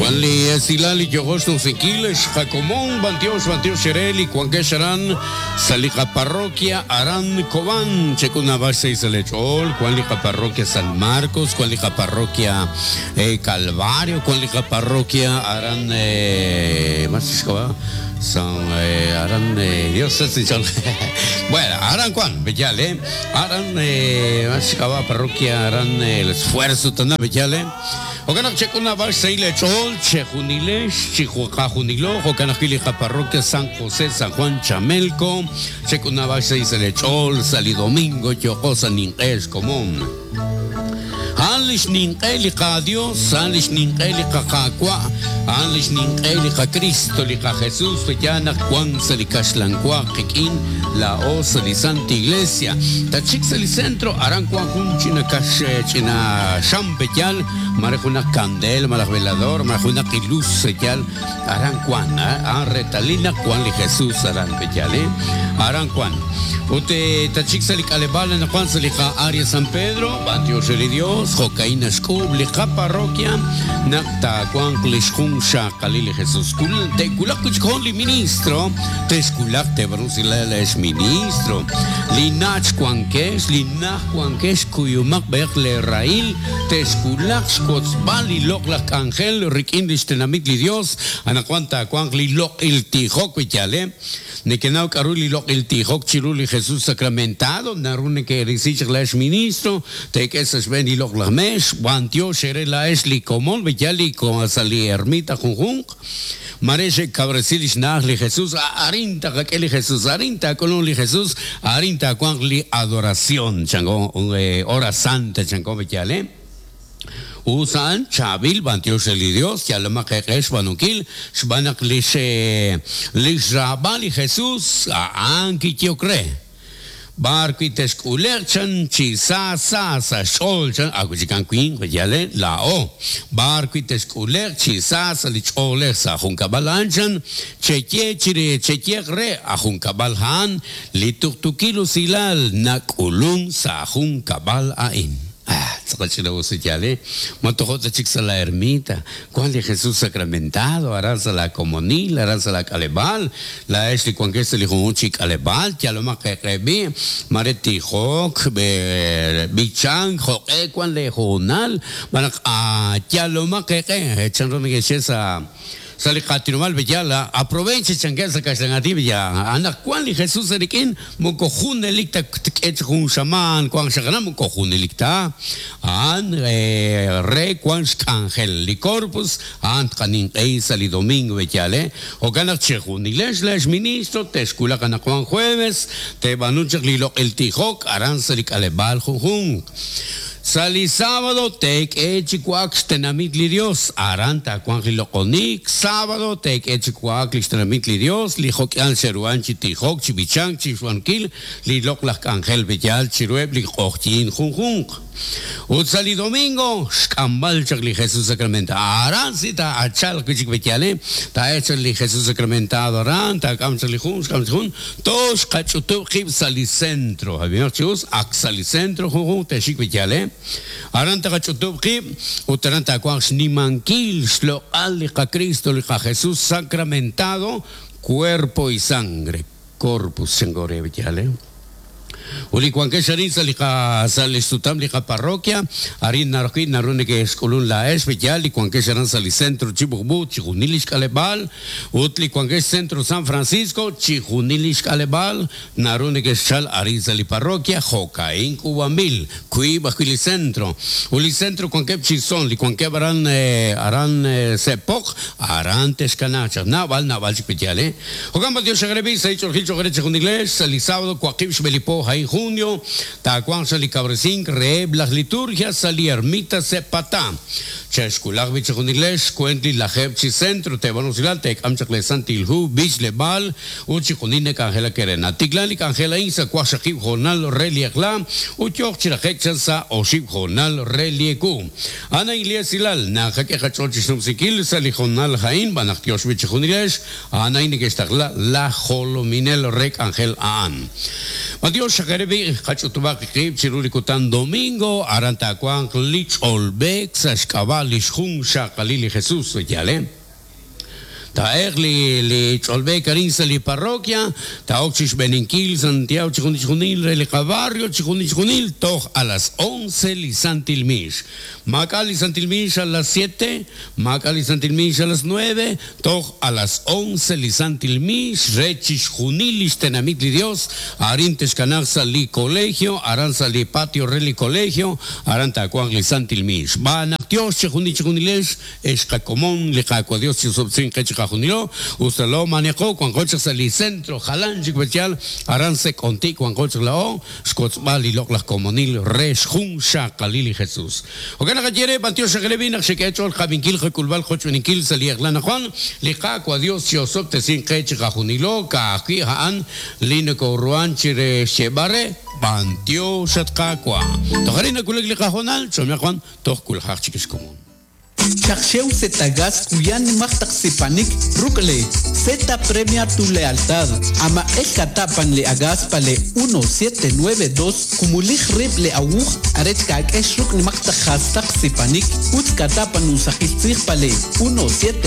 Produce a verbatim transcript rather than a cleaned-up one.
Juan li Silali Yogosh Nusikil, Xjacomón, Bantiox, Bantiox Xereli, Juan Kesharan, Salija Parroquia, Aran Cobán, Checuna Base y Salechol, Juan Lija Parroquia San Marcos, Juan Lija Parroquia eh, Calvario, Juan Lija Parroquia Aran, eh, más San eh, Aran, eh, Dios es bueno, Aran Juan, Bellale, Aran, eh, Parroquia Aran, eh, el esfuerzo, Tana Bellale. Ocanak chekuna bas seile chol chejunilesh chihuacajunilo jocanajilija parroquia San José San Juan Chamelco chekuna bas seile chol sali domingo yocosa ninqesh común. Anlish ninqeliqa Dios, anlish ninqeliqa Qaqua, anlish ninqeliqa Cristo, liqa Jesús, Feyana, Juan Salicashlanqua, Qikin, la Osa, li Santa Iglesia, Tachik el centro, Aran Juan China Cash, China Champeyal, Marejuna Candel, Maraj Velador, Marejuna Quiluz, Seyal, Aran Juan, Retalina, Juan li Jesús, Aran Peyal, Aran Juan. Ute Tachik Salicalebal, Juan Salija, Aria San Pedro, Bantio Sheli Dios, Jocaína Xcub, Lija Parroquia, Nacta, Juan Clishjun, Xacalili Jesús, Te Kulak li ministro, Teskulak te Brusila es ministro, Linach Juanques, Linach Juanques, Cuyumac Berle Rail, Teskulak Xcotzbal y Loclac Ángel, Riquindish Tenamit li Dios, Anacuanta Juan Li Loc il Tijok, Vichale, Nekenau Karuli Loc il Tijok, Chiruli Jesús sacramentado, Narune que Risich la es ministro, te que es ben y Loc la mesh, Guantio Sherela es li comón, Villali con sali ermita junjunk, Mareche Cabresilish Nahli Jesús, Arinta Kakeli Jesús, Arinta Colón li Jesús, Arinta Juan li adoración, chango, hora santa, chango, Villale. Usan Chabil Bantiosh el Dios, Yalama Kekesh Banukil, Shbanak Lishe Lishrabali Jesús, Anki Tiocre. Barqui teskulerchan chisa sa sa sholchan aguchikan queen yale la o barqui teskuler chisa sa lichole sa junkabalanchan cheche chire cheche re ajunkabalhan lituktukilu silal nakulun sa junkabal ain. Ah, la ermita, Juan de Jesús sacramentado, aranza la comunil, aranza la calebal, la esli Juan que se le junchi calebal, yaloma que rebi, mareti hok, bichan, joque, Juan le junal, ah, yaloma que echan que esa. Sale Catinumal Bellala, aproveche changuesa castellanati ya. Anda Juan li Jesús erikin, mocojun elicta echjun shaman, Juan shagana mocojun elicta. An re Juan angel li corpus, an canin eisa li domingo bellale. O gana chejun ilesh les ministro, tescula cana Juan jueves, te banuchak li lo el tijok, aranza li calebal junjun. Sali sábado, tek echicuac, tenamit li Dios, aranta cuan jiloconik, sábado, tek echicuac, tenamit li Dios, li joquian xeruan chitijok, chibichang, chichuanquil, li loclak ángel bellal, chirueb, li ojtin junjunk. Ut sali domingo, xcambal li Jesús sacramentado, arancita, achal, kuchik betiale, ta hecho li Jesús sacramentado, aran, ta kamchali jun, xkamchun, tosh kachutu, jib sali centro, había chus, ak sali centro, junjun, te chik betiale. Aranta kachutubki, utaranta cuax nimanquil, shlo alika Cristo, lika Jesús sacramentado, cuerpo y sangre, corpus sengore betiale. Uli cuanque sharin salika salistutam lika parroquia, arin narqui narune que escolun la es betial, y cuanque sharan sali centro chibukbu, chijunilish kalebal, utli cuanque centro San Francisco, chijunilish kalebal, narune que chal arin sali parroquia, jocaín cubamil, kui bajili centro, uli centro cuanque chison, li cuanque aran aran sepok, aran tescanacha, naval naval chipetiale. Jocamba Dios agrebi, se hicho el gil chogreche con inglés, sali sábado, cuaquib shbelipo, junio, tacuan sali cabrecín, re las liturgias, sali ermita sepatá. Cheskulak bichajunilesh, cuentli la jepchi centro, te vanusilal, te amchakle santilhu, bich lebal, uchijunine cangela querena. Tiglali cangela insa, cuashakib jornal reliekla, uchoch chirajechansa, oshib jornal relieku. Ana Iglesias Silal, najaqueja chochisnumsikil, sali jornal ha'in, b'anaq tiox b'i chi junilex, a'an a'in neke'xtaqla laj jolominel re k'anjel a'an. B'antiox xaqerebi qach'utub'aq qib' chiru li kutan domingo, aran taawanq li ch'olb'eek sa' xk'ab'a' li xjun xaqalil li Jesus, yale. Taeq li li ch'olb'eek arin sa' li parroquia, taok chi xb'eninkil Santiago chi junil re li qabarrio chi junil toj a las once li Santil Mix. Maak'a li Santil Mix a las siete, maak'a li Santil Mix a las nueve, toj a las once li Santil Mix re chi xjunil li xtenamit li Dios, arin texkanaq sa' li colegio, aran sa' li patio re li colegio, aran taawanq li Santil Mix. B'anaq Dios chi junil chi junilex, ex qakomon li Qaawa' Dios chi sobtzin qe chi qajunilo, ustalo manejo wanqoch sa' li centro jalan chik aran se konti wanqoch lao, xkotzb'al li loq laj komonil re xjun xaqalil li Jesus. Okan naqayere b'antiox xaqelebi naq xek'ech'ol qabinkil qakulb'al qochb'eninkil sa' li Eqlan Juan, li Qaawa' Dios chi osob'tesin qe chi qajunilo ka'ajwi' a'an li nokoruan chi re xcheb'are b'antiox at Qaawa'. Tojari nakulek li qajonal, chomia Juan, toj kuljaj chik xkomon. Chakxew Zetagas kuyan nimaj sipanik rukle Z premia tu lealtad. Ama el katapan le agas pale uno siete nueve dos kumulij rib le awuj arech ka'kex ruk nimaj jastak sipanik ut katapan usakil tzij pale uno siete